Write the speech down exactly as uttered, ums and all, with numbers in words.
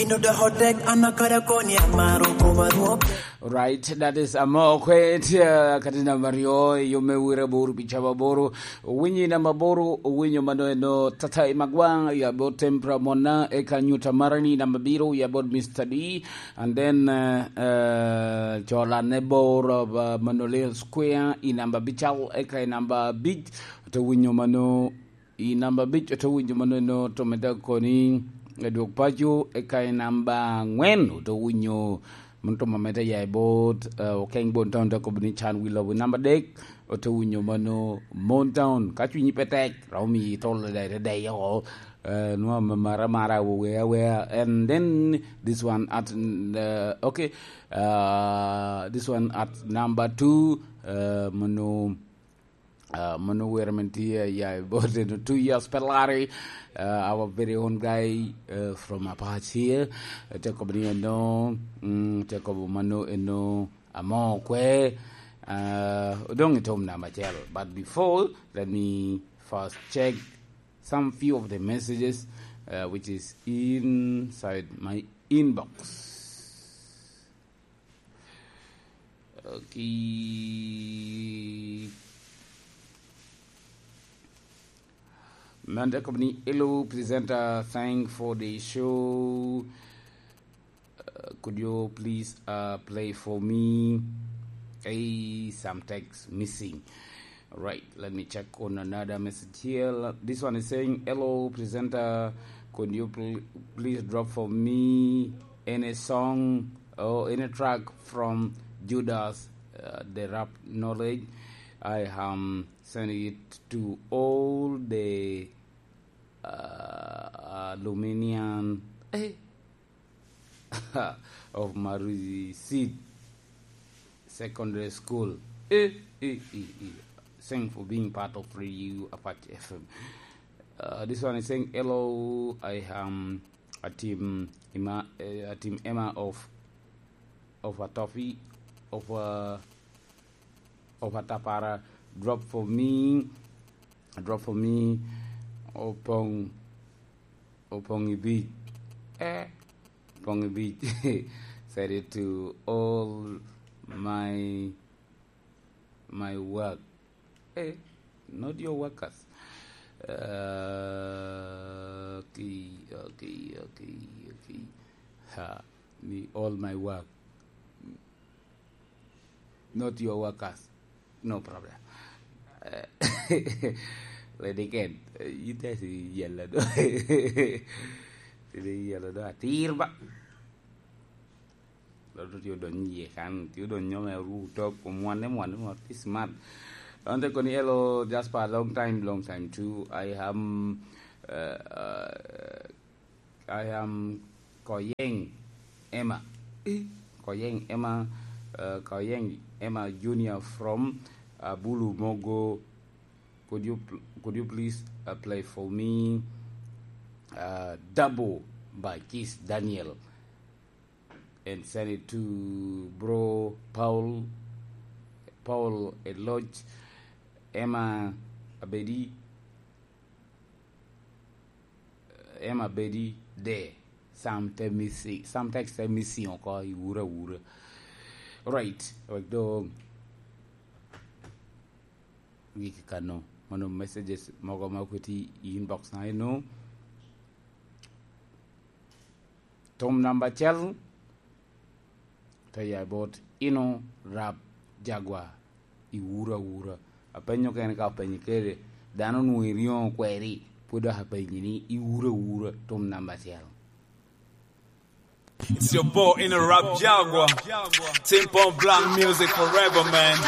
Ino da hotek, an akada koni amaro koma rwok. Right, that is Amokwe, tye, uh, kati namba aryo, yo me wira bor pi caba boro. Owinyo i namba boro, owinyo mano eno Tata Imagwang, ya bot Tempra Mona, eka Nyuta Marani namba biro, ya bot Mister D, and then, uh, uh, Chola Nebor, uh, Manolil Square, i namba bical, eka i namba bic, to winyo mano I namba abic, ote winyo mannono, to medde koni, Edwog Paco, eka i namba angwen, ote winyo mano to mamedde ya i bot, eh, Okeng Bon Town, te kobo ni Can Wi Lobo. I namba adek, ote winyo mano Mon Town. Ka cwinyi pe tek, romo miyi tol dai te dai oko, eh, nwa mamara mara, awea awea. And then this one at, uh, okay, uh, this one at number two, uh, mano Uh, mano were men tye ya i bote no two years pe lari. Uh, our very own guy, uh, from Apac here. Uh, te kobo ni eno, mm, te kobo mano eno Amokwe. Uh, odong i tom namba acel. But before, let me first check some few of the messages, uh, which is inside my inbox. Okay. Manda Company, hello, presenter, thank for the show. Uh, could you please, uh, play for me? Hey, some text missing. Right, let me check on another message here. This one is saying, "Hello, presenter. Could you pl-, please drop for me any song or any track from Judas, uh, the Rap Knowledge? I am sending it to all the, uh, aluminium." Eh? Of Maruzi Seed Secondary School. Eh, eh, eh, eh. Thanks for being part of Radio Apache F M. Uh, this one is saying, "Hello, I am a team Emma, eh, a team Emma of, of a toffee, of a, of a tapara. Drop for me, drop for me, Opong." Opong i bic. Eh, Opong i bic. Said it to all my, my work. Eh, not your workers. Uh, okay, okay, okay, okay. Ha, me all my work. Not your workers. No problem. Eh, Lady Ken, eh, you guys yellow do. Sidi yellow do atir ba. Lo do tio don ye kan, tio don nyome ru to ko mwane mwane mo this month. Don't take on hello just for a long time, long time too. I am, uh, uh, I am Koyeng Emma. Eh, Koyeng Emma, uh, Koyeng Emma Junior from, uh, Bulu Mogo. Could you pl-, could you please, uh, play for me, uh, Double by Kiss Daniel and send it to bro Paul, Paul Eloch, Emma Abedi, Emma Bedi de, some te missing, some text te missing oko i wura wura. Right, wek do wiki kano. Mano messages mogo ma okwiti i inbox na eno. Tom namba acel, te ya bot ino rap jagwa i wura wura. Apenyo kene ka openyo kede, dano onwoŋo iryoŋo kweri, pwod dok apenyi ni i wura wura, tom namba acel. It's your boy in a rap Jaguar. Team Pong Black music forever, man.